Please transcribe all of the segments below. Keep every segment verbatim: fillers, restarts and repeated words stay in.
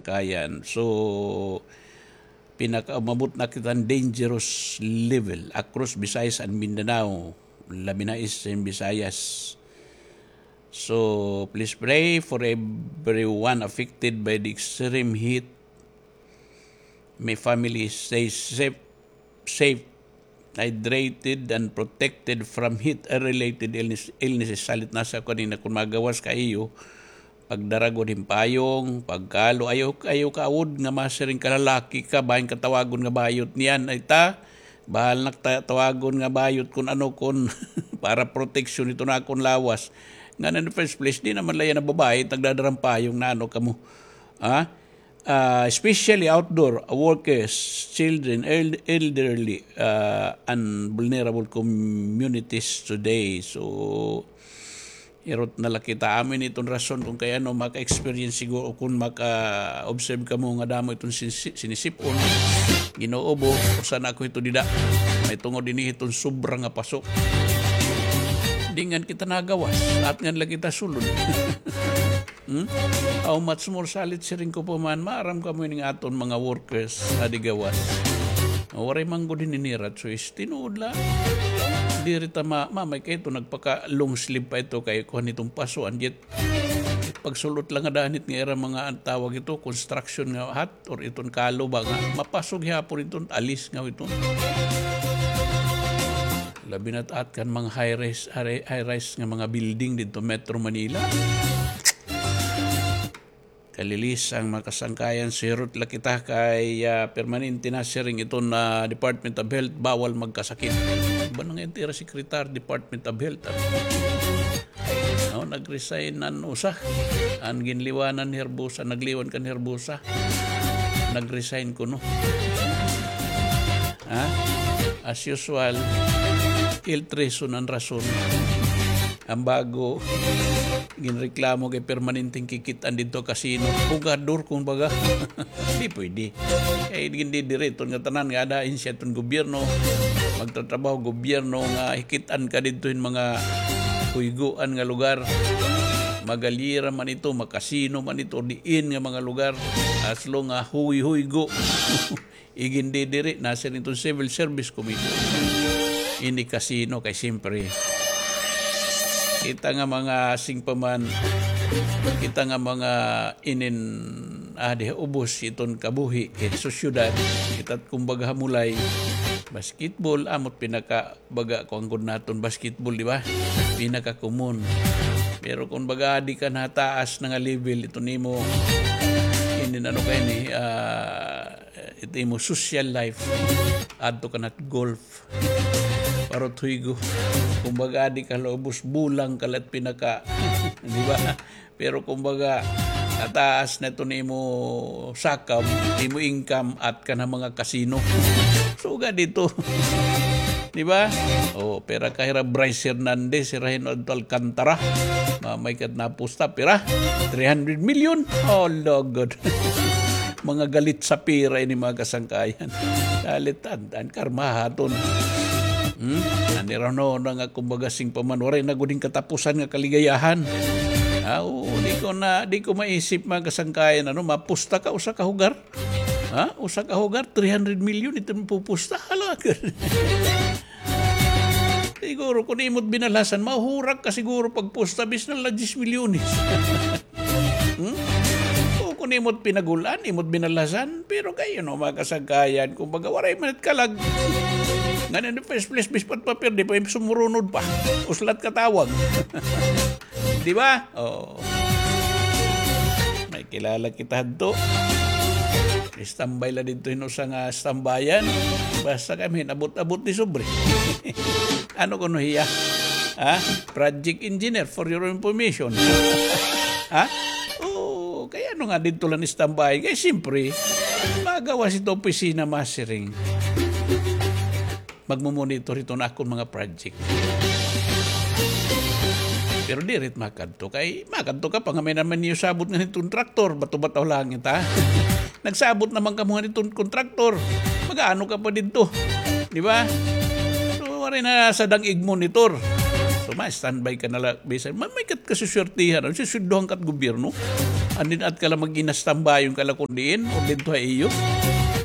Kayan. So, pinakaumabot na kita hin dangerous level across Visayas and Mindanao, labi na Eastern Visayas. So, please pray for everyone affected by the extreme heat. May family stay safe, safe, hydrated, and protected from heat-related illness, illnesses. Salit na sa kanina, kon magawas ka iyo, pagdara gud hin payong, pagkalo, ayaw, ayaw kaawod nga masiring ka lalaki ka, bahin ka tawagon nga bayot niyan, ay ta, bahal na ta-, tawagon nga bayot kon ano, kon para proteksyon ito na akon lawas. Nga na, in the first place, di naman la yana babae, nagdadara hin payong na ano kamo. Ha? Ah, especially outdoor workers, children, el-, elderly, ah, and vulnerable communities today. So, hirot na la kita. Amo ini iton rason kon kay ano, maka-experience siguro, kon maka-observe kamo nga damo iton sinsi-, sinisip-on, Ginoo bo, usa na ako hito dida. May tungod ini hiton sobra nga paso. Di ngan kita nagawas, at ngan la kita sulod. Hmm? How much more salit siring ko pa man, maaram kamo ini nga aton mga workers adi gawas. Waray man gud hini nira choice, tinuod la. Diri ta ma-, mamay kay ito, nagpaka long sleeve pa ito kay kuan iton paso, and yet, pagsul-ot la nga danit nga ira mga, an tawag ito, construction nga hat, or iton kalo ba nga, mapaso gihapon iton, alis nga iton. Labi na taat kan mga high rise, high, high rise nga mga building didto Metro Manila. Kalilis an mga kasangkayan, sirot la kita kay, ah, permanente na siring iton, ah, Department of Health, bawal magkasakit. Ba na nga itira Secretary Department of Health, ah? No, nag-resign an usa. An ginliwanan ni Herbosa, nagliwan kan Herbosa. Nag-resign kuno. Ha? As usual, health reason an rason. An bago, ginreklamo kay permanenteng kikit-an didto kasino. Hugador, kumbaga. Di pwede. Kay gindidiri iton nga tanan nga ada ahensya iton gobyerno, magtatrabaho gobyerno nga hikit-an ka didto hin mga huygoan nga lugar. Magalyera man ito, makasino man ito, diin nga mga lugar. As long nga huyhuygo. Igindidiri, nasiring iton Civil Service Commission. Ini kasino kay siyempre. Kita nga mga singpaman, kita nga mga inin, ah, di ubos iton kabuhi, eh, sosyedad, kita kumbaga hamulay, basketball, amot pinaka baga, kuan gud naton basketball, di ba? Pinaka-common. Pero kon baga adi ka na ha taas na nga level, ito nimo, inin ano ka ini, ah, ito imo social life, adto ka na golf. Parot huygo. Kon baga adi ka la ubos, bulang ka la it pinaka, di ba? Pero kumbaga, nataas na ito nimo sakab, nimo income, at ka na mga kasino. Sugad ito. Di ba? O, pira ka hira Bryce Hernandez, hira hin adto Alcantara. Mamay kat napusta, pira? Three hundred million. Oh, lugod. Mga galit sa pira ini, mga kasangkayan. Galit, an, an karma ha aton. Hmm? An ira no, na nga, kumbaga, singpaman, waray na gud hin katapusan nga kaligayahan. Ah, oo, di ko na, di ko maisip, mga kasangkayan, ano, mapusta ka, usa ka hugar. Ha? Usa ka hugar, three hundred million, ito mapupusta. Hala. Siguro, kung imot binalhasan, mahurak ka siguro pagpusta, bis na la diyes milyones. Hmm? O, kung imot pinagul-an, imot binalhasan, pero kay, you know, mga kasangkayan, kumbaga, waray man it kalag. Ngan in the first place, bis pa it mapirdi pa, sumurunod pa. Uslat katawag. Di ba? Oo. May kilala kita hadto. Istambay la didto hin usa nga stambayan. Basta kami hin abot-abot ni sobre. Ano kuno hiya? Ha? Project engineer, for your information. Ha? Oo, kay ano nga didto la istambay? Kay siyempre, magawas ito opisina masiring. Magmo-monitor iton akon mga project. Pero diri it makadto kay, makadto ka pa nga may naman niyo sabot nga hiton traktor, bato-bato lang ita. Nagsabot naman kamo nga hiton kontraktor. Mag-aano ka pa didto? Di ba? So, waray na sadang ig-monitor. So, ma-standby ka na la, bisan, ma-, may kat kasuswertihan, ano, susweldohan kat gobyerno. And then, at ka la mag-inastambayon ka la kun diin, o didto ha iyo.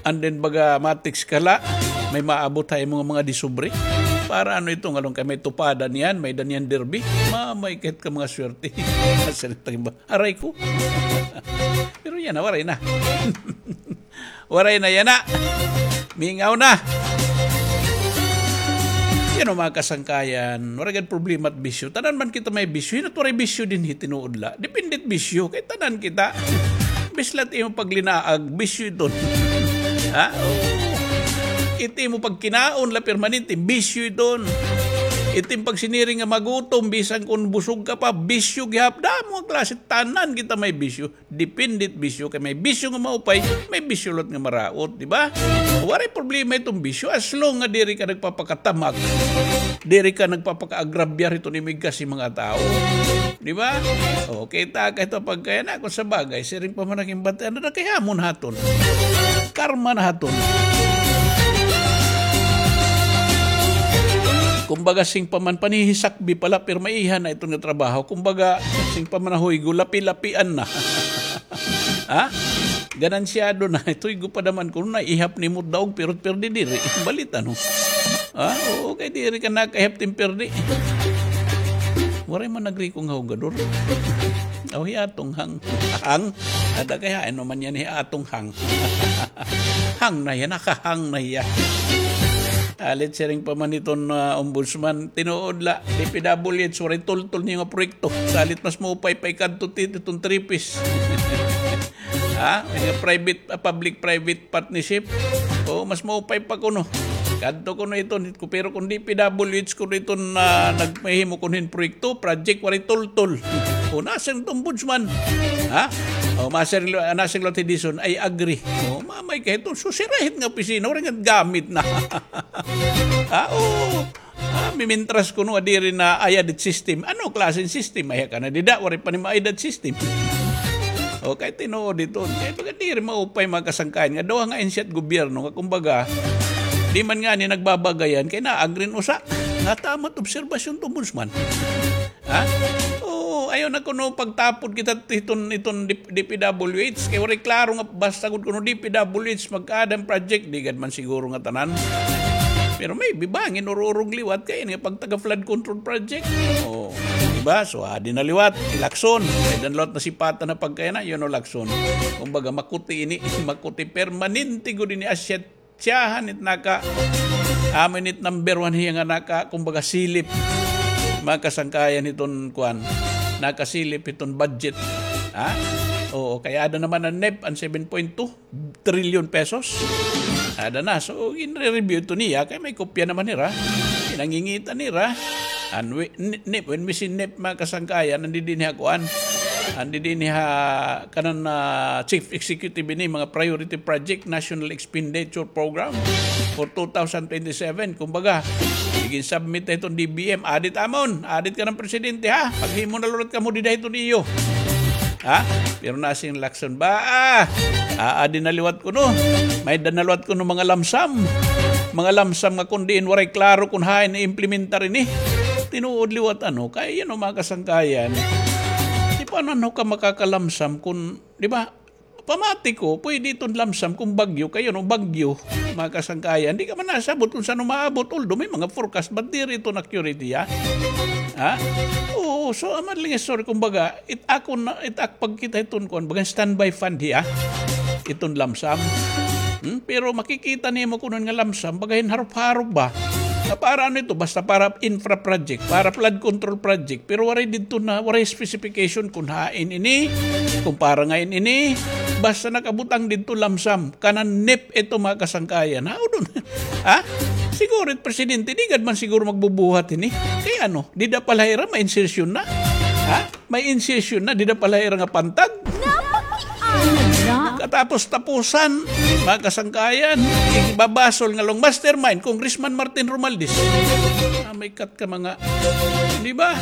And then, baga, ma-text ka la, may maabot ha imo nga mga disobra. Para ano ito, ngalon kay may tupada niyan, may-ada niyan derby. Mamay, kahit ka mga swerte. Aray ko. Pero yana, waray na. Waray na yana. Mingaw na. Yan o, mga kasangkayan. Waray gad problema it bisyo. Tanan man kita may bisyo. Hin-o it waray bisyo dinhi, tinuod la. Depende it bisyo. Kay tanan kita. Bisan la it imo paglinaag, bisyo iton. Ha? Oo. It imo pagkinaon la permanente, bisyo iton. It imo pagsiniring nga magutom, bisan kun busog ka pa, bisyo gihap. Damo nga klase, tanan kita may bisyo. Depende it bisyo, kay may bisyo nga maupay, may bisyo liwat nga maraot, di ba? Waray problema iton bisyo, as long nga diri ka nagpapakatamak, diri ka nagpapakaagrabyar hiton imo igkasi mga tawo. Di ba? O, kita ka ito pagkaya na, kun sa bagay, siring pa man an ginbatian na, kay hamon ha aton. Karma na ha aton. Kumbaga, siring pa man, panhihisakbi pa la, pirmi iha na iton nga trabaho. Kumbaga, siring pa man ha huygo, lapi-lapian na. Ha? Ganansyado na. It huygo pa naman kuno, naihap nimo daog, pirot pirdi diri. Balit, ano? Ha? Oo, kay diri ka nakaihap tin pirdi. Waray man nagriko nga hugador. Aw, hi Atong Hang. Hang? Ada kay hain naman yan hi Atong Hang. Hang na hiya, nakahang na hiya. Salit siring pa man iton, ah, ombudsman, tinuod la, D P W H, waray tultol niyo nga proyekto. Salit mas maupay pa ikadto ti-, iton three Ps. Ha? Nga private, ah, public-private partnership. O, mas maupay pa kuno. Kadto kuno iton, pero kun D P W H kuno iton, ah, nagpahimo kuno hin proyekto, project, waray tultol. O, nasiring it ombudsman. Ha? O, masiring, nasiring liwat hi Dizon, "I agree." O, mamay ka ito, so sira hit nga opisina, waray nga gamit na. Ha? O, ah, mimintras kuno, diri na ayad it system. Ano klaseng system? Ay, ka na dida, waray pa ni maayad it system. O, kay tinuod iton. Kay baga diri maupay mga kasangkayan nga duha nga ahensya it gobyerno nga kumbaga, di man ngani nagbabagayan, kay naagri an usa. Nga tama it obserbasyon it ombudsman. Ha? Oo, ayaw na kuno pagtapod kita hiton, hiton D-, D P W H. Kay waray klaro nga basta gud kuno D P W H mag-aada hin project, di gad man siguro nga tanan. Pero maybe bangin ururog liwat kay ini nga pagtaga flood control project. O, di ba? So, adi na liwat, Lacson. Kay dan liwat nasipatan na pagkaya na, you know, Lacson. Kumbaga, makuti ini, makuti permanente gud ini asset Siyahan it naka, amo ini it number one hiya nga naka, kumbaga, silip. Mga kasangkayan hiton kuan, nakasilip hiton budget. Ha? Oo, kay ada naman an NEP, an seven point two trillion pesos. Ada na. So, ginre-review ito niya, kay may kopya naman nira. Pinangingita nira. An wi-, ni-, NEP, when we say NEP, mga kasangkayan, andi dinhi ha kuan. Andi dinhi ha kanan, ah, Chief Executive ini, mga priority project, National Expenditure Program for two thousand twenty-seven. Kumbaga, igin-submit na hiton D B M. Adit amon, adit kanan presidente, ha? Paghimo na liwat kamo dida hiton iyo. Ha? Pero nasiring Lacson ba, ah, aadi na liwat kuno. May-ada na liwat kuno mga lamsam. Mga lamsam nga kun diin waray klaro kun hain i-implementar ini. Tinuod liwat, ano, kay, you know, mga kasangkayan. Di pa ano ka makakalamsam kun, di ba? Pamati ko, pwede iton lamsam kun bagyo, kay, you know, bagyo, mga kasangkayan. Di ka man nasabot kun san-o maabot, although may mga forecast, but diri iton accurate, ha? Ha? Oo, so, aman lang, sorry, kumbaga, it ako na, it ak pagkita hiton kuan, baga standby fund hiya. Iton lamsam. Hmm? Pero makikita nimo kuno nga lamsam, baga hin harop-harop ba? Na para ano ito? Basta para infra project, para flood control project. Pero waray didto na, waray specification kun hain ini, kun para ngain ini. Basta nakabutang didto lamsam. Kanan NEP ito, mga kasangkayan. Ha? Udon. Ha? Siguro it presidente, di gad man siguro magbubuhat ini. Kay ano, dida pa la hira, ma-insertion na. Ha? May insertion na, dida pa la hira nga pantag. Napakiana na. Katapos-tapusan, mga kasangkayan, igbabasol nga long mastermind, Congressman Martin Romualdez. Ah, may kat ka mga, di ba?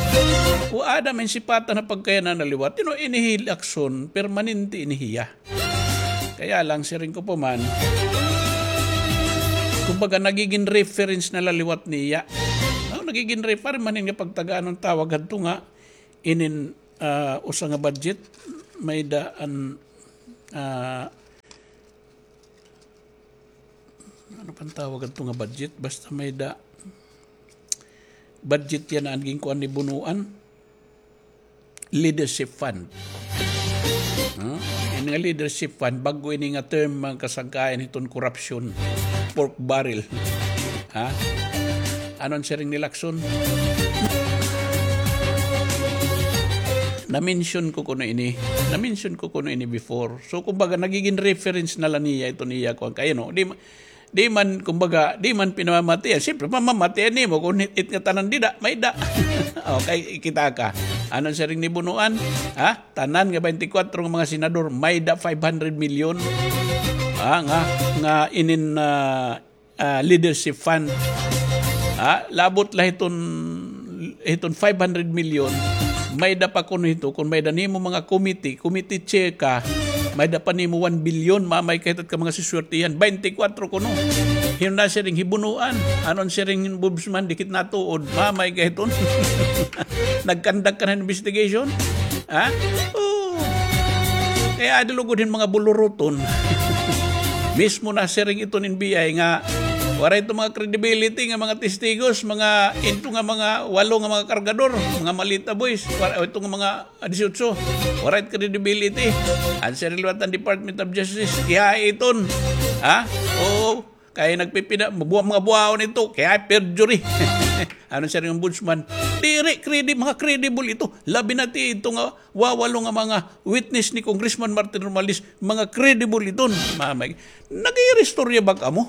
O Adam, in sipatan na pagkaya na naliwat. You know, ini hi Lacson, permanente ini hiya. Kaya lang, siring ko pa man, kumbaga, nagigin reference na la liwat niya. No, nagigin refer-, man nga pagtagaan ng tawag hadto nga, inin, ah, usa nga budget, may-ada an, ah, ano pang tawag adto nga budget? Basta may-ada budget yana an ginkuan ni Bonoan. Leadership Fund. Ha? Ini nga leadership fund, bag-o ini nga term, mga kasangkayan, hiton corruption. Pork barrel. Ha? Ano an siring ni Lacson? Na-mention ko kuno ini. Na-mention ko kuno ini before. So, kumbaga, nagiging reference na la niya iton iya kuan. Kay ano, di ma-, di man, kumbaga, di man pinamamatian. Siyempre, pamamatian nimo kung it, it nga tanan dida, may-ada. Okay, kita ka. Ano an siring ni Bonoan? Ha? Tanan nga twenty-four nga mga senador, may-ada five hundred million. Ha? Nga, nga inin, ah, ah, leadership fund. Ha? Labot la hiton, hiton five hundred million. May-ada pa kuno hito, kung may-ada nimo mga committee, committee chair ka, may-ada pa nimo one billion, mamay ka hito ka mga siswertihan, twenty-four kuno. Hinon na siring hi Bonoan, ano an siring hin ombudsman, dikit natuod, mamay ka hiton. Nag-conduct ka na hin investigation? Ha? Oo. Kay adi lugod hin mga buluruton. Mismo na siring iton N B I nga waray ito mga credibility nga mga testigos, mga ito nga mga walo nga mga kargador, mga malita boys, waray ito nga mga disiotso, waray credibility. An siring liwat an Department of Justice, kay iton. Ha? Oo. Kay nagpipina-, mabuwa-, mga buwaon ito, kay perjury. Ano an siring hin ombudsman? Diri, credi-, mga credible ito. Labi na ti ito nga wawalo nga mga witness ni Congressman Martin Romualdez, mga credible iton. Mamay, nag-iiristorya ba kamo?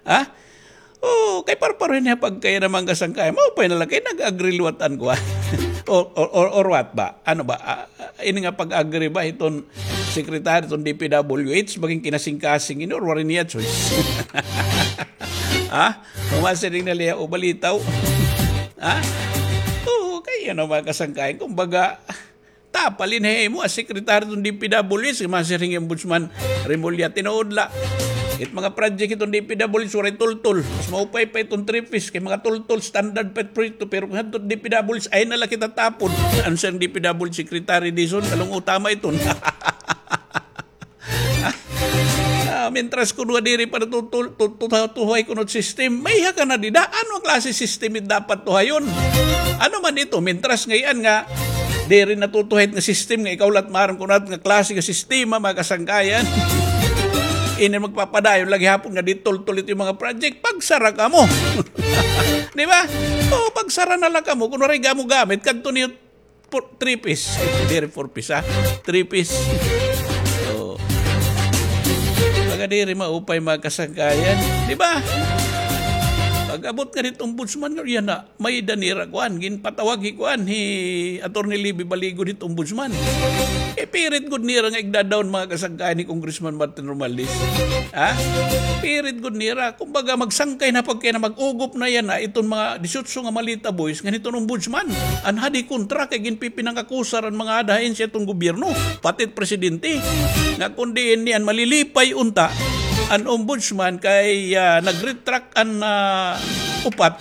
Ha? Oo, kay parparuhin niya pagkaya naman kasangkay. Maupay na la kay nag-agree liwat an kuan. Or, or, or, or what ba? Ano ba? Ah, ah, ini nga pag-agree ba iton secretary iton D P W H, maging kinasing-kasing ini or waray niya choice? Ha? Umasiring na liya o balitaw? Ha? Oo, kay ano, mga kasangkayan, kumbaga, tapalin ha imo as secretary iton D P W H, masiring hi Ombudsman Remulla, tinuod la. It mga project iton D P W H, waray tultol. Mas maupay pa iton three Ps, kay mga tultol, standard pa it proyekto, pero kung hadto D P W H, ay na la kita tapon. Ano siring D P W H secretary, Dizon? Along utama iton. Ah, mintras kuno diri pa natutul-, tu-, tu-, tuhay kuno it system. Maiha ka na dida. Ano klase system it dapat tuhayon? Ano man ito? Mintras ngay-an nga diri natutuhay it nga system nga ikaw la it maaram kuno it nga klase nga sistema, mga kasangkayan. Ini magpapadayon la gihapon nga di tultol ito nga mga project. Pagsara kamo. Di ba? O, pagsara na la kamo. Kun waray gamo gamit, kadto niyo Four, three Ps. Diri four Ps, ha? Three Ps. Oo. Baga diri maupay, mga kasangkayan. Di ba? Pag-abot nga didto ombudsman, nga yana, may-ada nira kuan, ginpatawag hi kuan, hi Attorney Libby Baligo didto ombudsman. Ipirit gud nira nga igda-down, mga kasangkayan, hi Congressman Martin Romualdez. Ha? Pirit gud nira. Kumbaga, magsangkay na pagkaya na mag-ugop na yana iton mga disiotso nga malita boys ngan hiton ombudsman. An hadi kontra kay ginpipinangakusar an mga ada ahensya hiton gobyerno, pati it presidente. Nga kun diin niyan malilipay unta an ombudsman kay, ah, nag-retract an, ah, upat,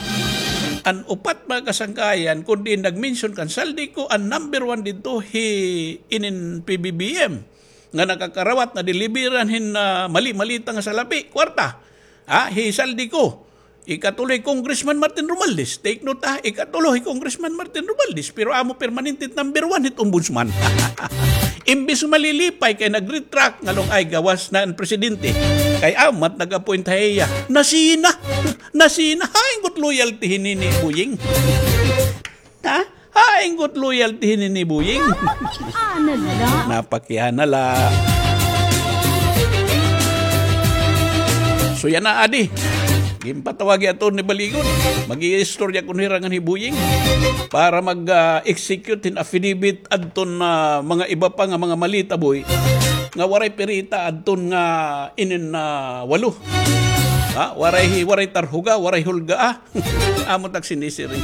an upat, mga kasangkayan, kun diin nag-mention kan Zaldy Co, an number one didto hi inin P B B M. Nga nakakarawat, nadeliveran hin, ah, mali-malita nga salapi, kwarta. Ha, hi Zaldy Co. Ikatulo hi Congressman Martin Romualdez. Take note, ha, ikatulo hi Congressman Martin Romualdez. Pero amo permanente it number one hit ombudsman. Imbis malilipay kay nag-retract ngan along ay gawas na an presidente. Kay amo it nag-appoint ha iya. Nasina. Nasina. Hain gud loyalty hi Nini Boying? Ha? Hain gud loyalty hi Nini Boying? Napakiana la. Napakiana la. So yana, adi. Ginpatawag hi Attorney Baligo. Mag-iistorya kuno hira ngan hi Boying para mag, ah, execute hin affidavit adton, ah, mga iba pa nga mga malita boy nga waray pirita adton nga inin, ah, walo. Ha? Waray hi-, waray tarhuga, waray hulga, ah. Amo tak sinisiring.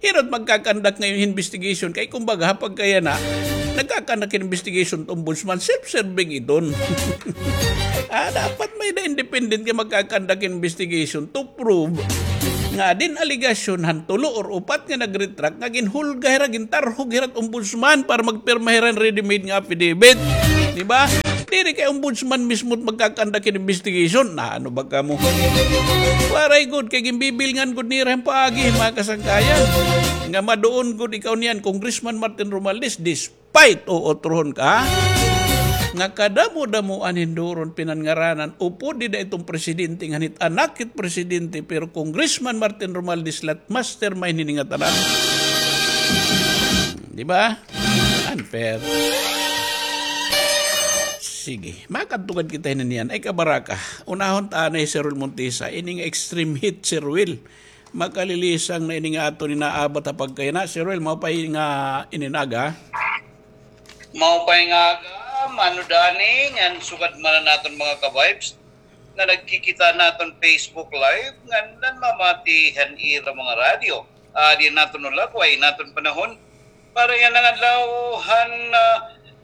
Hirot magkakandak ngayon investigation. Kay kumbaga, ha, pagkaya na, nagkakandak investigation it ombudsman, self-serving iton. Ah, dapat may-ada independent nga magkakandak investigation to prove nga adin alegasyon han tulo or upat nga nag-retract nga ginhulga hira, gintarhog hira hit ombudsman para magpirma hira hin ready-made nga affidavit. Di ba? Diri kay ombudsman mismo it magkakandak hin investigation. Na ano ba kamo? Waray gud, kay ginbibilngan gud nira hin paagi, mga kasangkayan. Nga maduon gud ikaw niyan, Congressman Martin Romualdez, despite, o, utrohon ka, nga kadamo-damoan hin duron pinangaranan, upod dida iton presidente, ngan hit anak hit presidente, pero Congressman Martin Romualdez la it mastermind hini nga tanan. Di ba? Unfair. Sige, makadto gad kita hini niyan. Ay, kabaraka. Unahon ta anay, Sir Ruel Montesa. Ini nga extreme heat, Sir Ruel. Makalilisang na ini nga aton inaabat ha pagkayana. Sir Ruel, mao pa nga ininaga. Mao pa nga aga, Mano Dani, ngan sugad man an aton mga ka-vibes nga nagkikita naton Facebook Live, ngan nanmamati han ira mga radyo. Adi an aton hulagway, an aton panahon, para yana nga adlaw han, ah,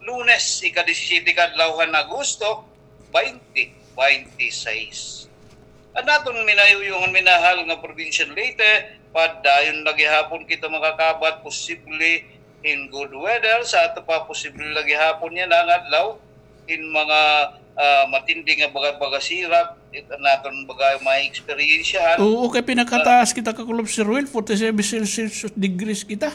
Lunes, ika-disisyete ka adlaw han Agosto, twenty twenty-six. An aton minayuyong ngan minahal nga probinsya han Leyte, padayon la gihapon kita makakabat, posible hin good weather, sa ato pa posible la gihapon yana nga adlaw hin mga, ah, matindi nga baga-, baga-sirak, it-, an aton baga may eksperyensyahan. Oo, kay pinakataas kita, Kakulop Sir Ruel, forty-seven Celsius degrees kita.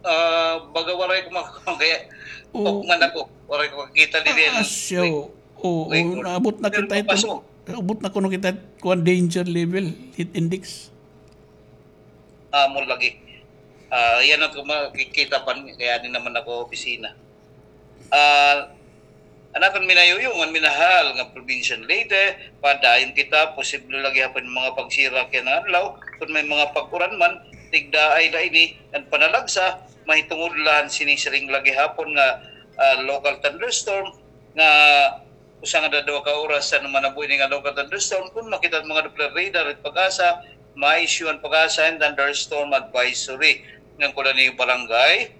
Ah, baga waray ko mak-, kaya, oo, man ako, waray ko makakita diri. Ah, siya, oo, oo, naabot na kita ito, abot na kuno kita kuan danger level, heat index. Amo lagi. Ah, yana ko makikita pa, kay adi naman ako opisina. Ah, an aton minayuyong ngan minahal nga probinsya han Leyte, padayon kita, posible la gihapon mga pagsirak yana nga adlaw, kon may mga pag-uran man, tigdaay la ini, an panalagsa, mahitungod la han sinisiring la gihapon nga, ah, local thunderstorm, nga usa nga daduha ka oras an manabuhi ini nga local thunderstorm. Kon makita han mga Doppler radar, it PAGASA, ma-issue an PAGASA hin thunderstorm advisory. Ngan kon ano it barangay,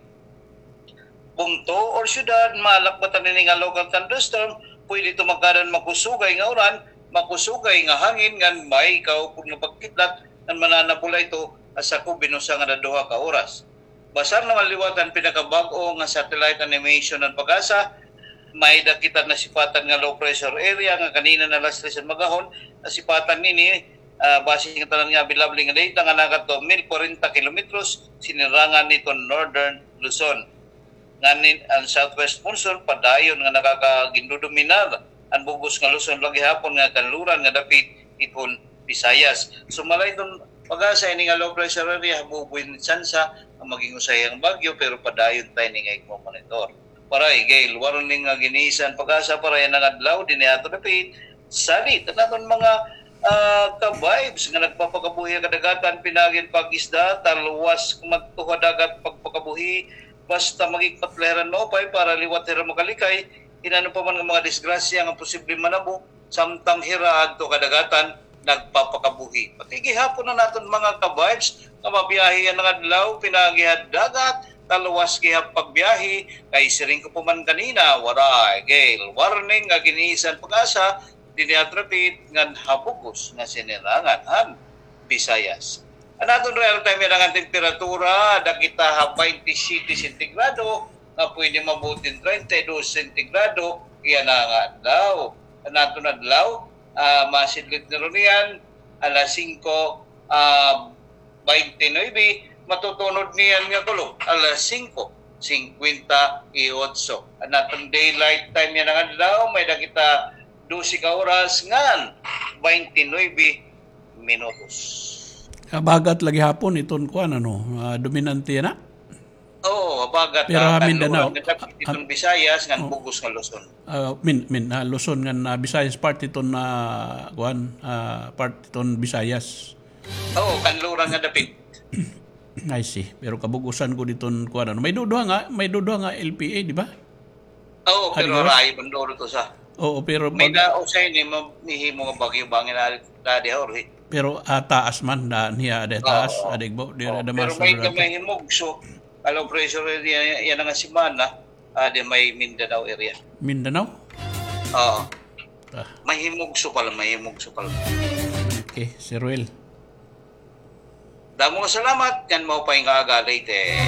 bungto, or syudad, malakbatan ini nga local thunderstorm, pwede ito magkaada hin makusugay nga uran, makusugay nga hangin, ngan may kaupod nga pagkidlat, ngan mananabo la ito ha sakob hin usa nga daduha ka oras. Basar naman liwat an pinakabag-o nga satellite animation han PAGASA, may-ada kita nasipatan nga low pressure area nga kanina na alas tres han mag-ahon, nasipatan nini, ah, base nga tanan nga available nga data nga nakadto mil kwarenta kilometros sinirangan niton Northern Luzon. Ngan an southwest monsoon padayon nga nakakagindodominar an bug-os nga Luzon la gihapon nga kanluran nga dapit iton Visayas. Sumala iton PAGASA, ini nga low pressure area, habubo ini tsansa nga maging usa hiya nga bagyo, pero padayon ta ini nga igmo-monitor. Waray gale warning nga gin-issue an PAGASA para yana nga adlaw dinhi ha aton dapit. Salit an aton mga, ah, ka-vibes nga nagpapakabuhi ha kadagatan, pinaagi hin pag-isda, talwas madto ha dagat, pagpakabuhi, basta magigpat la hira hin maupay para liwat hira makalikay hin ano pa man nga mga disgrasya nga posible manabo, samtang hira adto kadagatan nagpapakabuhi. Pati gihapon an aton mga ka-vibes nga mabiyahe yana nga adlaw, pinaagi ha dagat, talwas gihap pagbiyahe, kay siring ko pa man kanina, waray gale warning nga gin-issue an PAGASA dinhi ha aton dapit ngan ha bug-os nga sinirangan han Visayas. An aton real time yana nga temperatura, ada kita ha twenty-seven sentigrado, nga pwede maabot hin treinta y dos sentigrado yana nga adlaw. An aton adlaw, ah, masidlot na runo niyan alas singko, ah, baynte nuebe, matutunod niyan nga kulop alas singko singkwenta y otso. An aton daylight time yana nga adlaw, may-ada kita dose ka oras ngan baynte nuebe minutos. Habagat la gihapon iton kuan, ano, ah, dominante yana? Oo, habagat. Pero ha Mindanao, iton Visayas ngan bug-os nga Luzon. Ah, Min-, Min-, ah, Luzon ngan, ah, Visayas, part iton, ah, kuan, ah, part iton Visayas. Oo, kanluran nga dapit. I see. Pero kabug-osan gud iton kuan, ano. May duduha nga, may duduha nga L P A, di ba? Oo, pero rayo man duol ito sa. Oo, pero may pag- na, usa ini, ma-, mahimo nga bagyo bangin na, na di, Jorge. Pero, ah, taas man, da, niya, ada taas, ada igbaw, di, ada mas. Pero may, may himugso, low pressure area, yana nga semana, ah, di may Mindanao area. Mindanao? Oo. Ah. May himugso pala, may himugso pala. Okay, Sir Will. Damo nga salamat, ngan maupay nga aga, Leyte.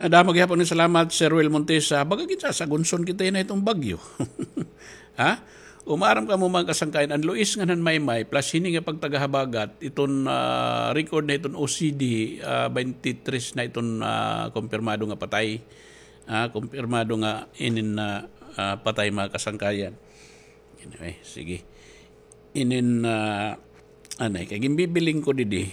Damo gihapon nga salamat, Sir Will Montesa. Baga gid sa, sa gunson kita na iton bagyo. Ha? Umaaram kamo, mga kasangkayan, an luis ngan han maymay, plus hini nga pagtagahabagat, iton, ah, record na hiton O C D, ah, twenty-three na iton, ah, kumpirmado nga patay. Ah, kumpirmado nga inin na, ah, patay, mga kasangkayan. Anyway, sige. Inin, ah, anay, kay ginbibiling ko didi.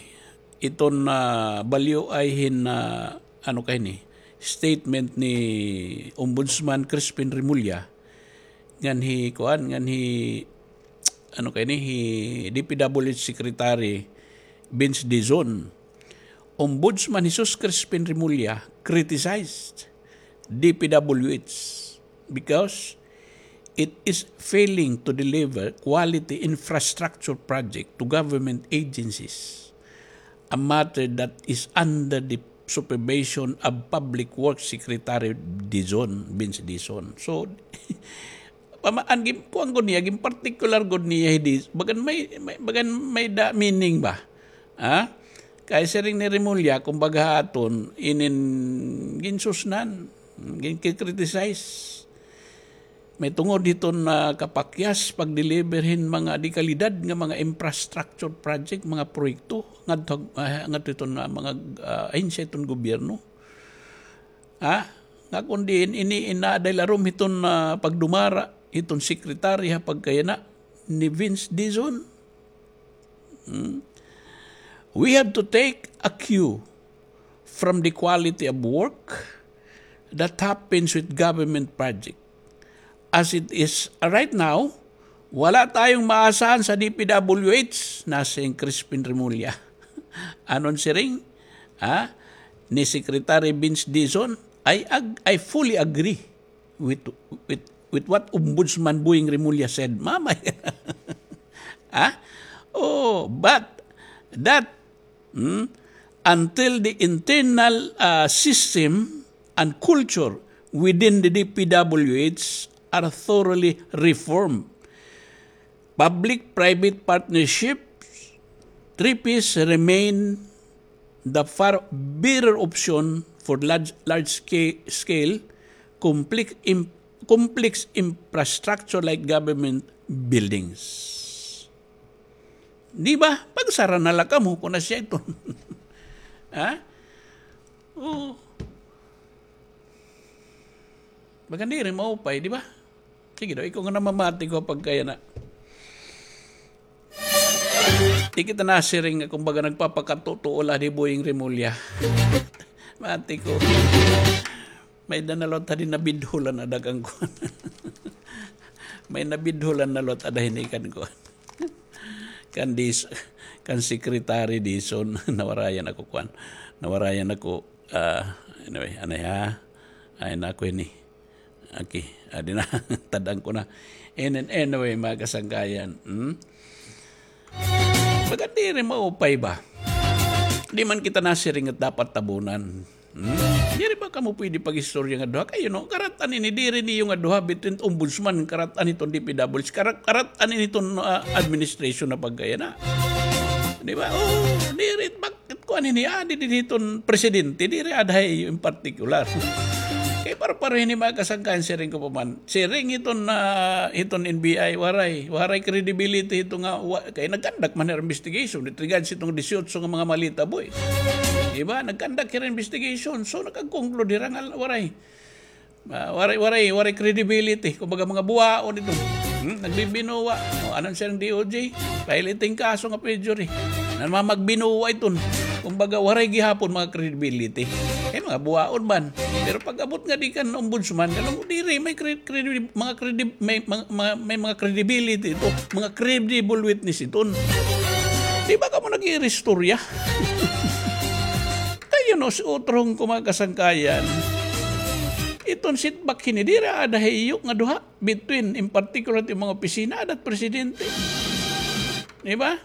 Iton, ah, balyo ay hin, ah, ano kay ni, statement ni Ombudsman Crispin Remulla, ngan hi, kuan, ngan hi, ano kay ni, hi D P W H Secretary Vince Dizon. Ombudsman Jesus Crispin Remulla criticized D P W H because it is failing to deliver quality infrastructure project to government agencies, a matter that is under the supervision of Public Works Secretary Dizon, Vince Dizon. So, pama-, an gin-, kuan gud niya, gin-particular gud niya, hi Diz-, bagan may, may, bagan may da meaning ba? Ha? Kay siring ni Remulla, kumbaga ha aton, inin ginsusnan, gin-criticize. May tungod hiton, ah, kapakyas pag-deliver hin mga dekalidad nga mga infrastructure project, mga proyekto, ngadto, ah, ngadto hiton, ah, mga, ah, ahensya hiton gobyerno. Ha? Nga kon diin ini inaaday larom hiton, ah, pagdumara hiton sekretary ha pagkayana ni Vince Dizon. Hmm? We have to take a cue from the quality of work that happens with government project. As it is right now, wala tayong maasahan sa D P W H, nasiring Crispin Remulla. Anon siring? Ha? Ni Secretary Vince Dizon, I ag-, I fully agree with, with, with what Ombudsman Boying Remulla said. Mamay. Ha? Oh, but that Hmm? Until the internal, uh, system and culture within the D P W H are thoroughly reformed. Public-private partnerships, three Ps, remain the far better option for large, large sca-, scale, complex im-, complex infrastructure like government buildings. Di ba? Pagsara na la kamo kon asya iton. Ha? Oo. Bagan diri maupay, di ba? Sige daw, ikaw nga namamati ko pagkayana. Di kita nasiring nga kumbaga nagpapakatutuo la di Boying Remulla. Mati ko. May-ada na liwat hadi nabidholan ada kan kuan. May nabidholan na liwat ada hini kan kuan. Kan dis-, kan Secretary Dizon, nawarayan ako kuan. Nawarayan ako, ah, anyway, anay ha. Ay, naku ini. Okay, adi na, tad-an ko na. And then, anyway, mga kasangkayan, hmm? Baga diri maupay ba? Di man kita nasiring nga dapat tabunan. Hmm? Diri ba kamo pwede pag-istorya nga duha? Kay, you know, karat-an ini, diri niyo nga duha between ombudsman, karat-an iton D P W H, karat-, karat-an ini iton, ah, administration na pagkayana. Di ba? Oh, diri, bak-, kuan ini, ah, diri, diri hiton presidente, diri ada ha iyo in particular. Kay pare-pareho ini mga kasangkayan, siring ko pa man. Siring hiton, ah, hiton N B I, waray, waray credibility hito nga, wa-, kay nag-conduct man hira investigation with regards hitong disiotso nga mga malita boys. Di ba? Nag-conduct hira investigation. So, nakag-conclude hira nga waray. Ah, waray, waray, waray credibility. Kumbaga, mga buwaon ito. Hmm? Nagbibinuwa. O, anon siring D O J? File iton kaso nga perjury. Namamagbinuwa iton. Kumbaga, waray gihapon mga credibility. Kay mga buwaon man. Pero pag-abot nga di kan ombudsman, alam mo, diri, may cre-, credi-, mga credi-, may, mga, mga, may mga credibility ito. Mga credible witness iton. Di ba kamo nag-iiristorya? Kay, you know, si utrong ko mga kasangkayan, iton sitbak hini, diri ada ha iyo nga duha between, in particular, it mga opisina, ada it presidente. Di ba?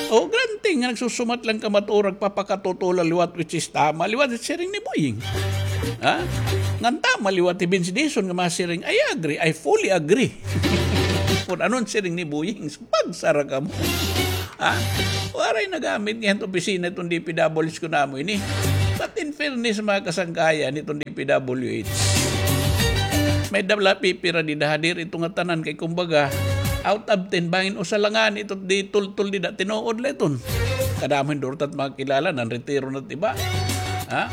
O, granting nga nagsusumat lang kamo ha ura, papakatutuo la liwat, which is tama liwat, siring ni Boying. Ha? Ngan tama liwat hi Vince Dizon nga masiring, I agree, I fully agree. Kun ano an siring ni Boying, pagsara kamo. Ha? Waray nagamit nga iton opisina iton D P W H kun amo ini. But in fairness, mga kasangkayan, iton D P W H, may-ada la pipira dida ha diri ito ngatanan kay kumbaga, out of ten, bangin usa la ngani ito di tultol dida, tinuod la iton. Kadamo hin duro ta it mga kilala, nanretiro na it iba. Ha?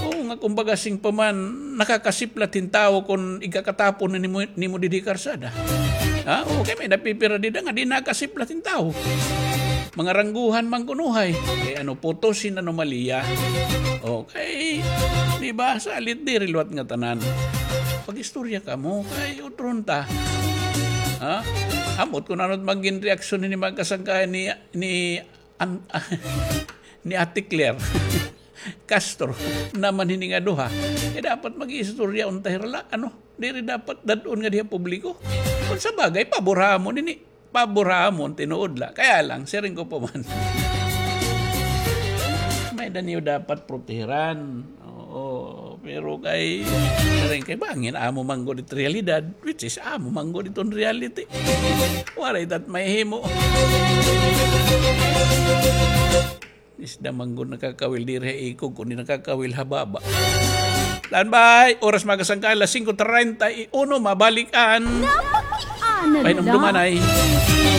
Oo nga, kumbaga, siring pa man, nakakasiplat hin tawo kun igkakatapon na nimo, nimo didi karsada. Ha? Oo, kay may napipira dida nga di nakasiplat hin tawo. Mga rangguhan man kuno hay. Kay ano, putos hin anomalya. Okay. Di ba? Salit diri liwat ngatanan. Pag-istorya kamo, kay utron ta. Ha? Ambot kun ano it magin reaksyon ni mga kasangkayan ni, ni, an-, ni Ate Claire Castro naman hini nga duha. Eh, dapat mag-istorya unta hira la, ano? Diri dapat dad-on nga diha publiko. Kun sa bagay, pabor ha amon ini. Pabor ha amon, tinuod la. Kaya lang, siring ko pa man. May-ada niyo dapat protehiran. Oo, pero kay, siring kay bangin, amo man gud it realidad, which is amo man gud iton reality. Waray tat mahihimo. Isda man gud nakakawil diri ha ikog, kundi nakakawil ha baba. Standby! Oras, mga kasangkayan, alas singko treinta y uno, mabalik an Pahinumduman ay.